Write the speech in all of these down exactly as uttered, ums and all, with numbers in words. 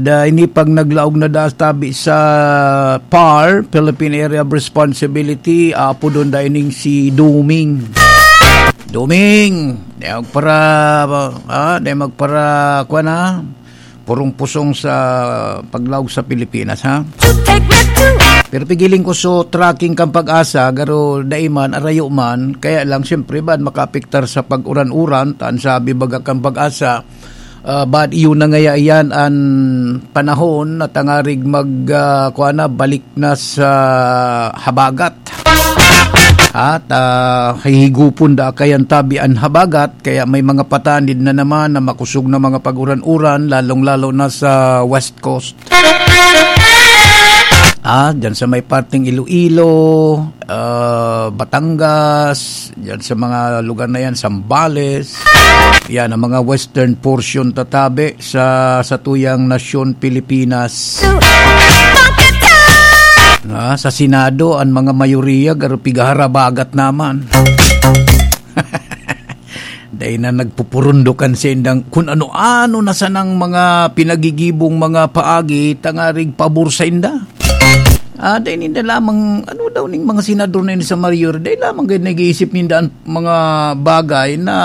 Da ini pag naglaog na da tabi sa PAR, Philippine Area of Responsibility, apodon da ining si Duming. Duming! Di magpara, ah, di magpara, kuwan, ha? Purong-pusong sa paglaog sa Pilipinas, ha? Pero pigiling ko so tracking kan PAGASA, garo dai man, arayo man, kaya lang, siyempre, bad makaapektar sa pag-uran-uran, tan sabi baga kan PAGASA, ah, bad iyo na ngaya iyan an panahon na tangarig mag, ah, kuwan na, balik na sa habagat. At, ah, hihigupon da kayan tabi an habagat, kaya may mga patanid na naman na makusog na mga pag-uran-uran, lalong-lalo na sa West Coast. Ah, dyan sa may parteng Iloilo, ah, Batangas, dyan sa mga lugar na yan, Zambales. Yan, ang mga western portion tatabi sa, sa tuyang nasyon Pilipinas. Ah, sa Senado, ang mga mayoriya, garo pigaharabagat naman. Dai na nagpupurundokan sa indang kun ano-ano na sanang mga pinagigibong mga paagi tangarig pabor sa inda. Ah, dai ninda lamang, ano daw ning mga senador na yun sa Mayor, dai lamang gayud nag-iisip ninda ang mga bagay na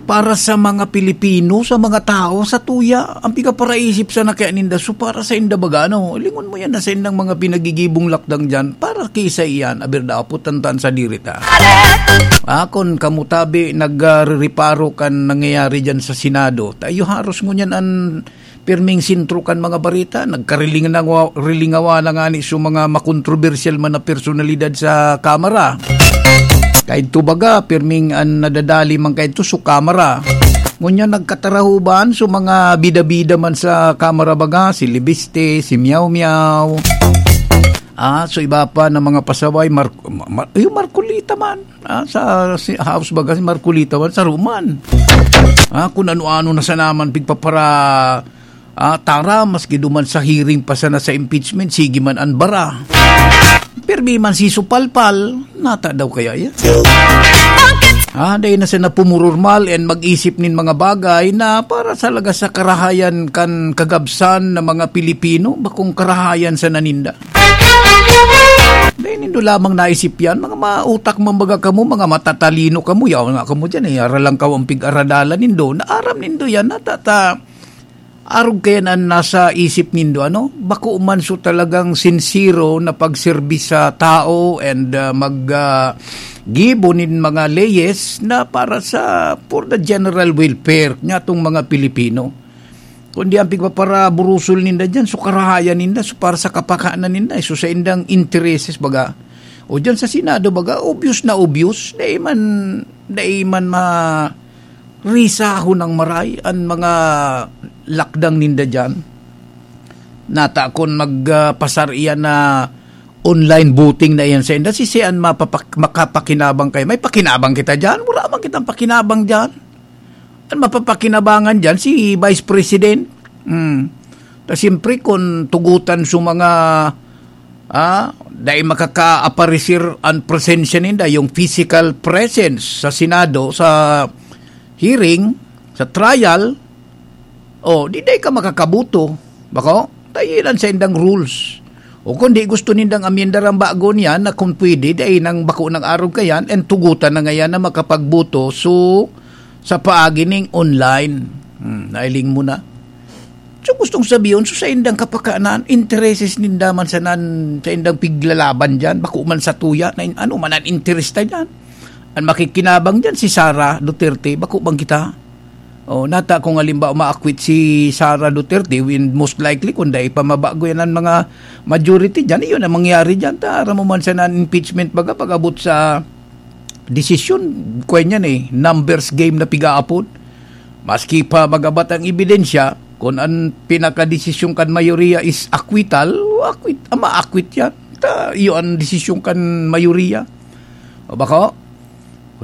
para sa mga Pilipino, sa mga tao, sa tuya, ang pigaparaisip sana kaya ninda. So, para sa inda baga, ano, lingon mo yan na sa indang mga pinagigibong lakdang dyan, para kisa iyan, aber daw, putantan sa diri ta. Ah, kun kamo tabi, nagre-reparo kan nangyayari dyan sa Senado, tayo haros ngunyan an pirming sentro kan mga bareta, nagkarilingawa-, rilingawa na ngani so mga makontrobersyal man na personalidad sa Kamara. Kaidto baga, pirming an nadadali man kaidto so Kamara. Ngunyan nagkatarahuban so mga bida-bida man sa Kamara baga, si Libiste, si Miao Miao. Ah, so iba pa na mga pasaway, Mar-, Ma-, Ma-, yung Marcolita man. Ah, sa si House baga, si Marcolita man, sa Roman. Ah, kung ano-ano na sa naman pigpapara, ah, tara, maski duman sa hearing pa sana sa impeachment, sige man an bara. Pirmi man si Supalpal, nata daw kaya yan? Ah, dahil na siya napumururmal and mag-isip nin mga bagay na para sa laga sa karahayan kan kagabsan na mga Pilipino, bakong karahayan sa naninda. Dai nindo lamang naisip yan, mga mautak man baga kamo, mga matatalino kamo, yaon nga kamo dyan, eh, aralang kaw ang pig-aradalan nindo, naaram nindo yan, natata, arog kaya na nasa isip nindo, ano? Bako man so talagang sinsero na pagserbi sa tao and, ah, mag, ah, gibo nin mga leyes na para sa, for the general welfare nga tong mga Pilipino. Kundi ang pigpaparaburusol ninda dyan, so karahayan ninda, so para sa kapakanan ninda, so sa indang intereses, baga. O dyan sa Senado, baga, obvious na obvious, dai man, dai man ma-, risahon ng maray an mga lakdang ninda dyan. Nata kun magpasar iyan na online voting na iyan sa inda, si sian mapapak-, makapakinabang kayo? May pakinabang kita dyan? Wala man kitang pakinabang dyan. An mapapakinabangan diyan si Vice President. Hmm. Ta siyempre, kun tugutan sa mga, ah, dai makakaaparisir an presensya ninda, yung physical presence sa Senado, sa hearing, sa trial, oh, di dai ka makakaboto. Bako? Tayilan sa indang rules. O kung di gusto nindang amyendaran bago niyan na kung pwede, dai nang bako nang arog kayan, and tugutan na ngayan na makapagboto. So, sa paagi ning online. Hmm, nailing mo na. So, gustong sabihin, so sa indang kapakanan, intereses ninda man sa nan-, sa indang piglalaban dyan, bako man sa tuya, na in-, ano man ang interes ta dyan. Ang makikinabang dyan, si Sara Duterte, bako bang kita? Oh, nata kung halimbawa ma-acquit si Sara Duterte, when most likely, kung dai pa mabago yan ang mga majority dyan, iyon ang mangyari dyan. Ta, aram mo man sa nan-, impeachment baga, pag-abot sa desisyon, kwan yan eh, numbers game na pigaapod. Maski pa magabat ang ebidensya, kung ang pinakadesisyon kan mayoriya is acquittal, o acquit, ah, ma-acquit yan. Ta, iyo ang desisyon kan mayoriya. O bako?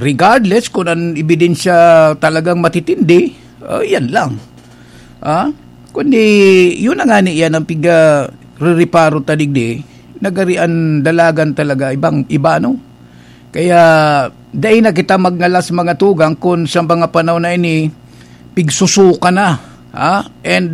Regardless kung ang ebidensya talagang matitindi, ah, yan lang. Ah? Kundi, yun na nga ni yan ang piga-rereparo ta digdi, nagari ang dalagan talaga, ibang, iba, no? Kaya, dai na kita magngalas mga tugang kung sa mga panahon na ini, pigsusuka na, ha? And